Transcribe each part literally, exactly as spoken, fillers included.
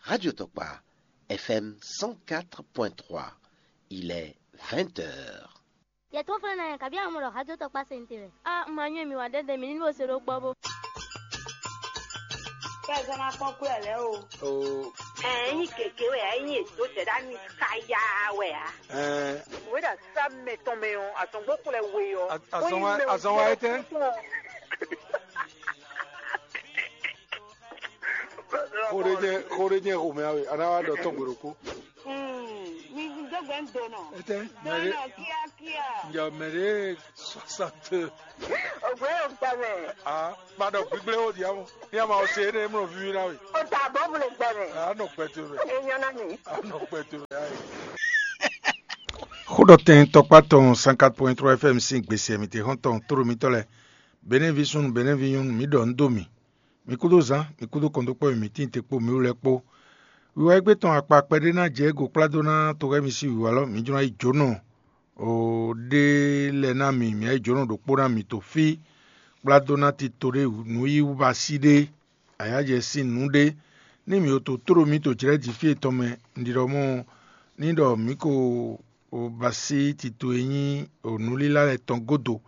Radio Tokpa, F M cent quatre point trois. Il est vingt heures. Yɛ tó fɛn na yɛ kabi amɔ ɖɔ hajɔ tɔ kpa sente wɛ. A ma nyɔ mi wa dɛdɛ mi ni bo se ɖo gbɔ bo. Kɛ zɔn na kpɔn kú ɛ lɛ o. O. Ɛ nyi keke wɛ ɛ nyi edo sɛ ɖa nyi kaya wɛ a. Ɛ. Wɛ ɖa sa mɛ tɔn mɛ ɔ, azɔngbɔ kplɛ we ɔ. Azɔn wa azɔn wa etɛ. Xo ɖé jɛ xo ɖé jɛ xomɛ awe, a ná wá ɖɔ tɔn gbe ɖokpó. Mi dó gbɛ ń do nɔ. Etɛ, mɛ ɖé. Dó nɔ kíákíá. Njɛ mɛ ɖé soixante. Ògbé yóò gbà mɛ. Ah, ma ɖɔ gbígbléwó diamu. Ní a ma ɔ se énɛ́ mlɔ víví ná we. O ta bɔ bu le gbà mɛ. A nɔ kpɛtɛ mɛ. E nyɔ na mi. A nɔ kpɛtɛ mɛ ayi. Xóɖɔtɛn tɔkpá tɔn cent quatre point trois F M sín gbèsè mǐtɛn xɔ́ntɔn tóɖo mitɔ́ lɛ́ɛ, Benɛ́ví súnnu, Benɛ́ví nyɔ́nu, mǐ ɖɔ nǔ dó mì. Mi kúdó zán, mi kúdó kɔndókpɔ́ e mǐ tíin te kpó mǐ wú lɛ́ɛ kpó. Wiwa égbé tɔn akpa kpɛɖé ná jɛ égo kplá dó ná toxɛ́misi wǐwá lɔ, mǐ jló ná yi jǒnɔ ɖé lɛ́ɛ ná mì, mǐ ná yi jǒnɔ ɖokpó ná mì to fí, kplá dó ná tito ɖé nǔ yí wú ba sí ɖé, ayǎjɛ sín nǔ ɖé. Ní mǐ o to tló mǐ to jlɛ̌ jǐ fí etɔn mɛ, un ɖi ɖɔ mɔ̌ ní ɖɔ mǐ ko ba sí tito e nyí nǔlílá lɛ́ɛ tɔn gúdo,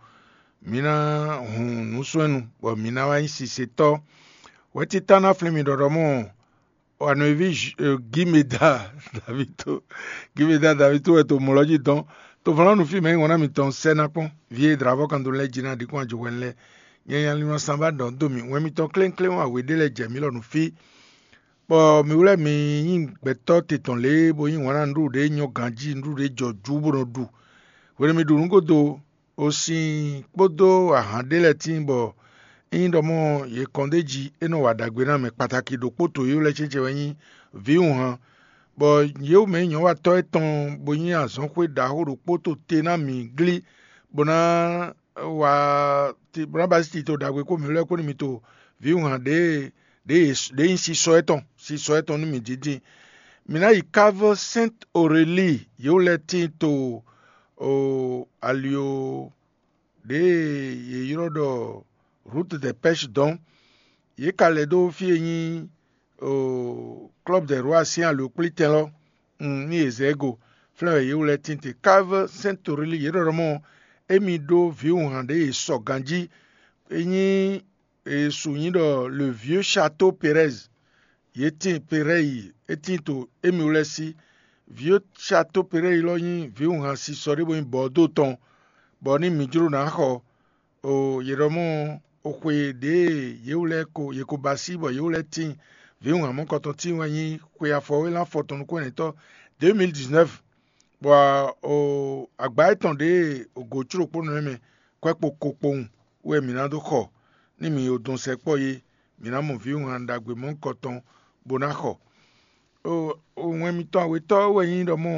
mǐ ná hun nǔswɛ́nnu, bɔ mǐ ná wá nyí sisetɔ́. Wɛ̌títá ná flín mì ɖɔɖɔ mɔ̌, Wanoví Gimeda Davito, Gimeda Davito wɛ to mɔ̌ lɔ jí dɔn. To vlɔ̌nu fí mɛ nyí wɔ̌n ná mitɔn sɛ́ ná kpɔ́n. Vǐ e dlǎvɔ́ kan dó lɛ́ɛ jí ná ɖi kún ajɔhwɛ́nu lɛ́ɛ. Nyanya lin wá sanba ɖɔ dó mì, wɛn mitɔn klénkléwún awě ɖé lɛ́ɛ jɛ mǐ lɔ nú fí. Bɔ mi wlɛ́ mi nyí gbɛtɔ́ te tɔn lě e bó nyí wǎn nǔɖuɖu ɖě nyɔ́ ganjí, nǔɖuɖu ɖě jɔ jú bó nɔ ɖu. Hwenu mi ɖu nǔ gúdo, osin kpódó ahan ɖé lɛ́ɛ tíin bɔ ényí ɖɔ mɔ yě kɔn d'é jí, é nɔ wa ɖagbe ná mɛ kpataki ɖokpó to yě lɛ́ɛ cécé wɛ nyí vǐwunhan, bɔ yě mɛ nyɔ̌watɔ́ étɔn bó nyí azɔ̌xwé ɖaxó ɖokpó to te ná mǐ glí, bó ná wa bó ná ba sí tito ɖagbe kpó mǐ lɛ́ɛ kpó nú mi to vǐwunhan ɖě ɖě nyí sisɔ étɔn sisɔ étɔn nú mǐ dídin. Mǐ ná yi kávé Sɛ́nt Orelíi, yě wú lɛ́ɛ tíin to ali ɖě yě ylɔ́ ɖɔ Rút dɛ Pɛ́shi dɔn. Yě ka lɛ́ dó fí e nyí Klɔ́b dɛ Rwá sín alǒkplítɛn lɔ, ní yě zɛ ɛ go, flɛ́n wɛ yě wú lɛ́ɛ tíin te. Kávé Sɛ́nt Orelíi, yě ɖɔ ɖɔ mɔ émí ɖó vǐwunhan ɖě e sɔ ganjí, é nyí e su nyí ɖɔ le vieux château Pérez. Yě tíin Perɛ́yi, é tíin to émí wú lɛ́ɛ sí. Vieux château Perɛ́yi lɔ nyí vǐwunhan sisɔ ɖé bó nyí Bɔ̌dó tɔn, bɔ ní mi jló ná xɔ o yě ɖɔ mɔ o xwe ɖě e yě wú lɛ́ɛ ko yě ko ba sí bɔ yě wú lɛ́ɛ tíin vǐwunhan mɔ̌kɔtɔn tíin wɛ nyí xwe afɔwélán afɔtɔn nukún-ɛnɛtɔ́ deux mille dix-neuf, bɔ o agbǎ étɔn ɖě e o gǒ có ɖokpónɔ lɛ́ɛ mɛ kwɛ́ kpo ko kpowun wɛ mǐ ná dó xɔ. Ní mǐ o dɔn sɛkpɔ́ é, mǐ ná mɔ vǐwunhan ɖagbe mɔ̌hunkɔtɔn bó ná xɔ. Wɛn mitɔn awetɔ́ wɛ nyí ɖɔ mɔ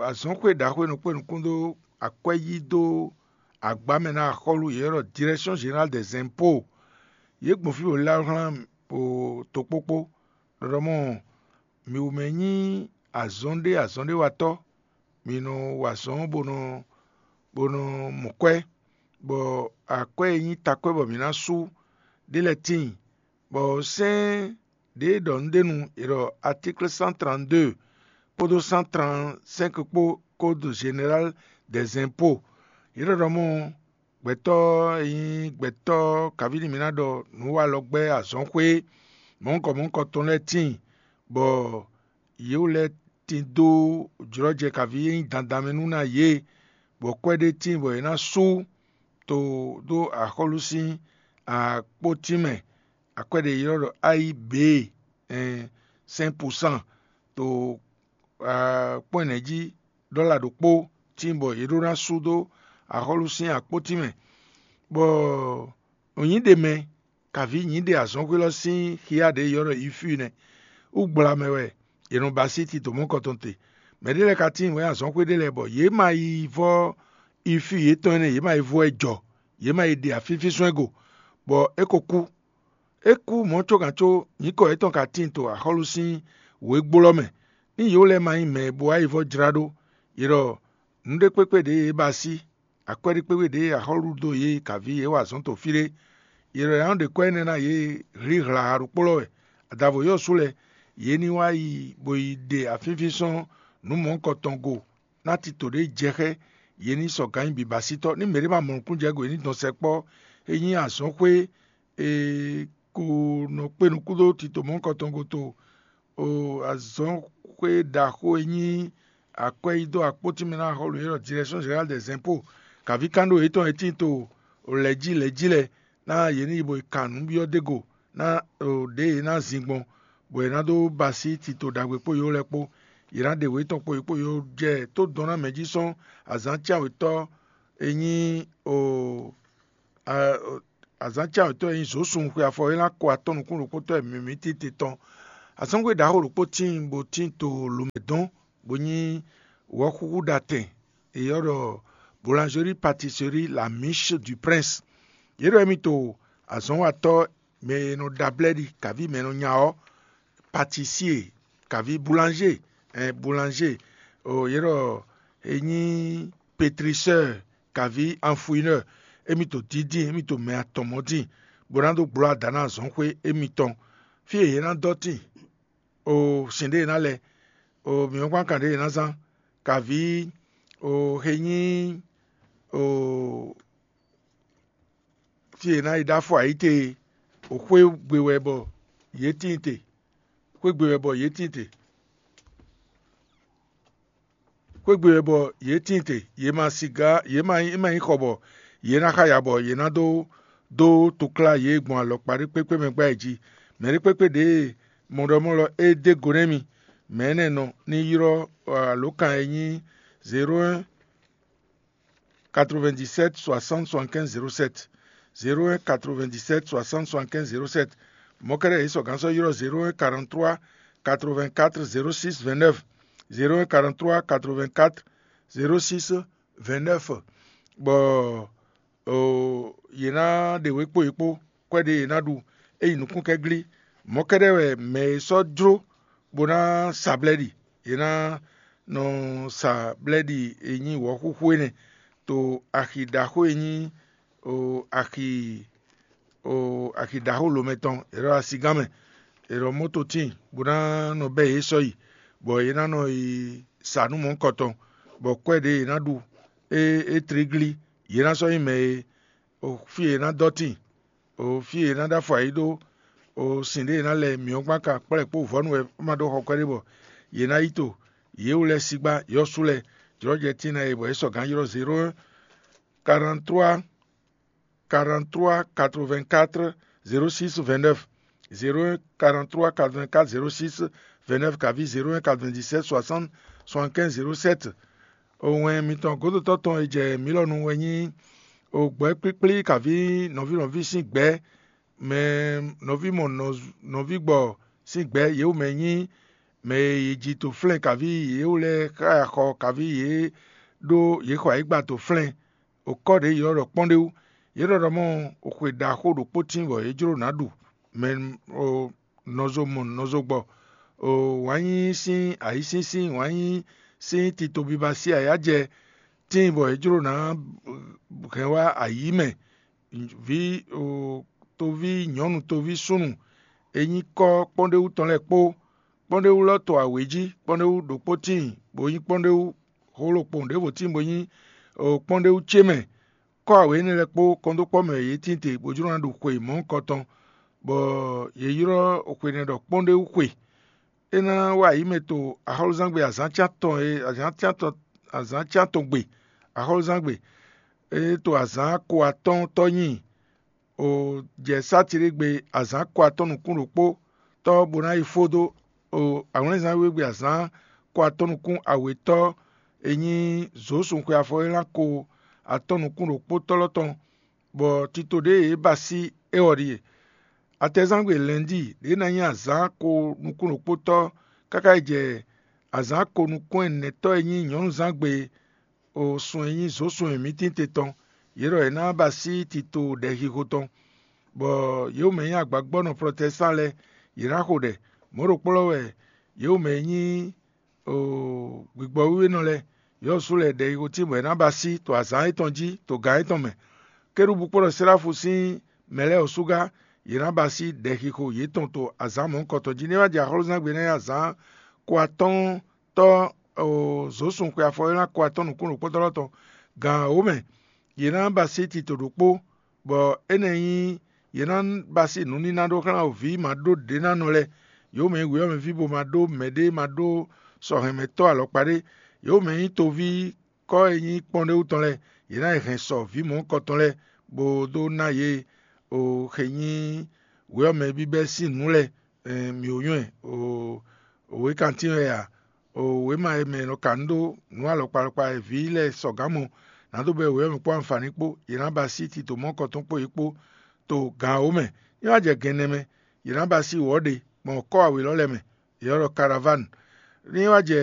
azɔ̌xwé ɖaxó e nɔ kpé nukún dó akwɛ́ yí dó agbá mɛ ná axɔ́lú yě ɖɔ Direction Générale des Impôts. Yě gbɔn fí bó lɛ́ wá hlán tokpókpó, ɖɔ ɖɔ mɔ mǐ wú mɛ nyí azɔn ɖé azɔn ɖé watɔ́. Mǐ nɔ wa azɔn bó nɔ bó nɔ mɔ kwɛ́, bɔ akwɛ́ e nyí takwɛ́ bɔ mǐ ná sú ɖé lɛ́ɛ tíin, bɔ sɛ́n ɖě e ɖɔ nǔɖénu è ɖɔ atíkl cent trente-deux kpódó cent trente-cinq kpó Code Général des Impôts. Yě ɖɔ ɖɔ mɔ gbɛtɔ́ e nyí gbɛtɔ́ kaví nú mǐ ná ɖɔ nǔwalɔgbɛ́ azɔ̌xwé mɔ̌hunkɔ mɔ̌hunkɔ tɔn lɛ́ɛ tíin, bɔ yě wú lɛ́ɛ tín dó jlɔ́jɛ kaví e nyí dandan mɛ nú ná yě, bɔ kwɛ́ ɖé tíin bɔ yě ná sú to dó axɔ́lú sín akpótín mɛ, akwɛ́ ɖě ylɔ́ ɖɔ A I B, cinq pour cent, to kpɔ́n ɛnɛ jí dɔ́la ɖokpó tíin bɔ yě ɖó ná sú dó axɔ́lú sín akpótín mɛ, bɔ nyǐ ɖe mɛ, kaví nyǐ ɖe azɔ̌xwé lɔ sín xyá ɖě ylɔ́ ɖɔ ifú nɛ́. Wú gbla mɛ wɛ è nɔ ba sí tito mɔ̌kɔtɔn te. Mɛ ɖé lɛ́ɛ ka tíin wɛ̌n azɔ̌xwé ɖé lɛ́ɛ bɔ yě ma yi vɔ́ ifú yětɔn énɛ́, yě ma yi vɔ́ ɛ jɔ, yě ma yi ɖe afífísɔ́n ɛ go, bɔ é ko kú. É kú mɔ̌ có gǎn có nyǐkɔ yětɔn ka tíin to axɔ́lú sín wěgbó lɔ mɛ. Ní yě lɛ́ɛ ma nyí mɛ e bo wá yi vɔ́ jlá ɖó, yě ɖɔ nǔɖé kpékpé ɖě yě ba sí akwɛ́ɖíkpéwé ɖě axɔ́lú dó yě kaví yě wa azɔ̌ to fí ɖé. Yě ɖɔ yě nɔ ɖe kwɛ́ énɛ́ ná yě hlíhla ɖokpó lɔ wɛ. Adavo yɔ́ sú lɛ́ɛ, yě ní wá yi bó yi ɖe afínfín sɔ́n nǔ mɔ̌hunkɔtɔn go ná tito ɖě jɛ xá ɛ, yě ní sɔ gǎn nyi bǐbasítɔ́. Ní mɛɖé ma mɔ nukúnnú jɛ go, yě ní dɔn sɛkpɔ́. É nyí azɔ̌xwé e ko nɔ kpé nukún dó tito mɔ̌hunkɔtɔn go to azɔ̌xwé ɖaxó e nyí akwɛ́yídó akpó tínmɛ ná xɔ́lú élɔ́ Direction Générale des Impôts, kaví kán ɖó yětɔn e tíin to lɛ̌ jí lɛ̌ jí lɛ́ɛ, ná yě ní yi bo yi kan nǔ byɔ́ dó go ná ɖě yě ná zin gbɔn, bɔ yě ná dó ba así tito ɖagbe kpó yǒ lɛ́ɛ kpó. Yě ná ɖe wě tɔn kpo yě kpó yǒ jɛ tó dɔn ná mɛ jí sɔ́n azǎn cyán wětɔ́ e nyí azǎn cyán wětɔ́ e nyí zǒsun xwe afɔ é ná ko atɔ́ nukún ɖokpótɔ́ e mǐmí tete tɔn. Azɔ́ngbe ɖaxó ɖokpó tíin bó tíin to lǒmɛ dɔn, bó nyí wɔ̌xúxú ɖatɛn e ylɔ́ ɖɔ Boulangerie Pâtisserie La Miche du Prince. Yě ɖɔ émí to azɔ̌nwatɔ́ mɛ e nɔ ɖa blɛ́ɖi kaví mɛ e nɔ nya ɔ́, pâtissier kaví boulanger, ɛn boulanger, o yě ɖɔ é nyí pétriseur kaví enfouineur. Émí to dídín, émí to mɛ atɔn mɔ̌ dín, bó ná dó gbló ada ná azɔ̌nxwé émítɔn. Fí e yě ná dɔ́ tíin, o sin ɖé e ná lɛ, o mǐmɔ́kpán kan ɖé e ná zán, kaví o xe nyí o fí e è nǎ yi ɖó afɔ ayǐ te e, xwé gbe wɛ bɔ yě tíin te. Xwé gbe wɛ bɔ yě tíin te. Xwé gbe wɛ bɔ yě tíin te. Yě ma siga, yě ma nyí, ma nyí xɔ bɔ yě ná xa ya bɔ yě ná dó dó toklá yě gbɔn alɔkpa ɖé kpékpé mɛ gbá yi jí. Mɛ̌ ɖé kpékpé ɖě e mɔɖɔmɔ́lɔ é dó go nɛ́ mi, mɛ̌ nɛ́ nɔ ní ylɔ́ alǒkan e nyí zéro un quatre-vingt-dix-sept soixante soixante-quinze zéro sept, zéro un quatre-vingt-dix-sept soixante soixante-quinze zéro sept. Mɔ̌kɛ́ɖɛ́ yě sɔgǎn sɔ́ ylɔ́ zéro un quarante-trois quatre-vingt-quatre zéro six vingt-neuf, zéro un quarante-trois quatre-vingt-quatre zéro six vingt-neuf, bɔ yě ná ɖe wě kpó yě kpó kwɛ́ ɖě yě ná ɖu é yi nukúnkɛ́glí. Mɔ̌kɛ́ɖɛ́ wɛ mɛ e sɔ́ jló bó ná sa blɛ́ɖi. Yě ná nɔ sa blɛ́ɖi e nyí wɔ̌xúxú énɛ́ to axi ɖaxó e nyí axi axi ɖaxó lǒmɛ tɔn, è nɔ ɖo asigán mɛ, è nɔ mɔ́ to tíin bó ná nɔ bɛ́ yě sɔ́ yi, bɔ yě ná nɔ yi sa nǔ mɔ̌hunkɔtɔn, bɔ kwɛ́ ɖě yě ná ɖu é é tlí glí. Yě ná sɔ́ nyí mɛ e fí e yě ná dɔ́ tíin, fí e yě ná ɖó afɔ ayǐ ɖó, sin ɖě yě ná lɛ mǐ ɔ́ gbán ka kplá ɛ kpó vɔ̌nu wɛ é ma ɖó xɔ kwɛ́ɖé bɔ yě ná yi to. Yě wú lɛ́ɛ sígbá yɔ́sú lɛ́ɛ jlɔ́jɛ tíin ná e bɔ é sɔgǎn ylɔ́ zéro un quarante-trois quarante-trois quatre-vingt-quatre zéro six vingt-neuf, zéro un quarante-trois quatre-vingt-quatre zéro six vingt-neuf kaví zéro un quatre-vingt-dix-sept soixante soixante-quinze zéro sept. Owɛn mitɔn gǒdotɔ́ tɔn e jɛ mǐ lɔ nu wɛ nyí ogbɛ́ kplíkplí kaví nɔví nɔví sín gbɛ̌, mɛ nɔví mɔ nɔví gbɔ sín gbɛ̌ yě wú mɛ nyí mɛ e yě ji to flɛ́n kaví yě wú lɛ́ɛ xá xɔ kaví yě ɖó yě xɔ ayǐgba to flɛ́n. Okɔ́ ɖě yě ylɔ́ ɖɔ kpɔ́ndéwú. Yě ɖɔ ɖɔ mɔ xwe ɖaxó ɖokpó tíin bɔ yě jló nǎ ɖu, mɛ nɔzo mɔ nɔzo gbɔ, wǎn yíyí sín ayǐsínsín, wǎn yíyí sín tito biba sín ayǎjɛ tíin bɔ yě jló nǎ hɛn wá ayǐ mɛ. Vǐ toví nyɔ̌nu toví súnnu e nyí kɔ́ kpɔ́ndéwú tɔn lɛ́ɛ kpó. Kpɔ́ndéwú lɔ to awě jí, kpɔ́ndéwú ɖokpó tíin bó nyí kpɔ́ndéwú xólokpɔn ɖěvo tíin bó nyí kpɔ́ndéwú ce mɛ. Kɔ́ awě énɛ́ lɛ́ɛ kpó kɔndókpɔ́ mɛ yě tíin te bó jló ná ɖu xwe mɔ̌hunkɔtɔn, bɔ yě ylɔ́ xwe nɛ́ ɖɔ kpɔ́ndéwú xwe. É ná wá ayǐ mɛ to axɔ́lúzángbe azǎn atɔn e azǎn atɔn gbe axɔ́lúzángbe. É to azǎn ko atɔ́ɔ́ntɔ́ nyi o jɛ sátiɖégbe azǎn ko atɔ́ nukún ɖokpó tɔ́ bó ná yi fó dó o awlɛ́nzán wíwégbe azǎn ko atɔ́ nukún awětɔ́ e nyí zǒsun xwe afɔ e ná ko atɔ́ nukún ɖokpótɔ́ lɔ tɔn, bɔ tito ɖě e yě ba sí é ɔ́ ɖíe. Atɛzángbe lɛ̌ndíi ɖě ná nyí azǎn ko nukún ɖokpótɔ́ káká yi jɛ azǎn ko nukún ɛnɛtɔ́ e nyí nyɔ̌nuzángbe o sun e nyí zǒsun e mǐ tín te tɔn. Yě ɖɔ yě ná ba sí tito ɖɛxixo tɔn, bɔ yě mɛ nyí agbagbɔ́nɔ Plɔtɛsán lɛ́ɛ, yě ná xo ɖɛ. Mɔ̌ ɖokpó lɔ wɛ yě mɛ nyí gbigbɔwíwénɔ lɛ́ɛ. Yɔ́sú lɛ́ɛ ɖɛxixo tín bɔ è nǎ ba sí to azǎn étɔn jí to gǎn étɔn mɛ. Kérúbu kpódɔ Seláfu sín mɛ lɛ́ɛ ɔ́ sú gá, yě ná ba sí ɖɛxixo yětɔn to azǎn mɔ̌hunkɔtɔn jí. Ní é wá jɛ axɔ́lúzángbe énɛ́ ɔ́ azǎn ko atɔ́ɔ́n tɔ́ zǒsun xwe afɔ e ná ko atɔ́ɔ́n nǔkún ɖokpónɔ tɔn gǎn wǒ mɛ, yě ná ba sí tito ɖokpó, bɔ énɛ́ nyí yě ná ba sí nǔníná ɖó xlán vǐ ma ɖó ɖěnánɔ lɛ́ɛ, yě mɛ nyí wěyɔ́mɛví bo ma ɖó mɛɖé ma ɖó sɔhɛnmɛtɔ́ alɔkpa ɖé, yě mɛ nyí toví kɔ́ e nyí kpɔ́nɖéwú tɔn lɛ́ɛ, yě ná yi hɛn sɔ vǐ mɔ̌hunkɔtɔn lɛ́ɛ, bó dó ná yě o xe nyí wěyɔ́mɛ bíbɛ́ sín nǔ lɛ́ɛ, mǐ ó nywɛ́ o wěkantín wɛ a, o wěma e mɛ è nɔ ka nǔ ɖó nǔ alɔkpa alɔkpa e vǐ lɛ́ɛ sɔgǎn mɔ, nǎ dó bɛ́ wěyɔ́mɛ kpó anfǎni kpó, yě ná ba sí tito mɔ̌hunkɔtɔn kpó yě kpó to gǎn wǒ mɛ. Ní wá jɛ gɛnnɛ mɛ, yě ná ba sí wɔ̌ ɖé gbɔn kɔ́ awě lɔ́ lɛ́ɛ mɛ, yě nɔ ɖɔ karavánu. Ní wá jɛ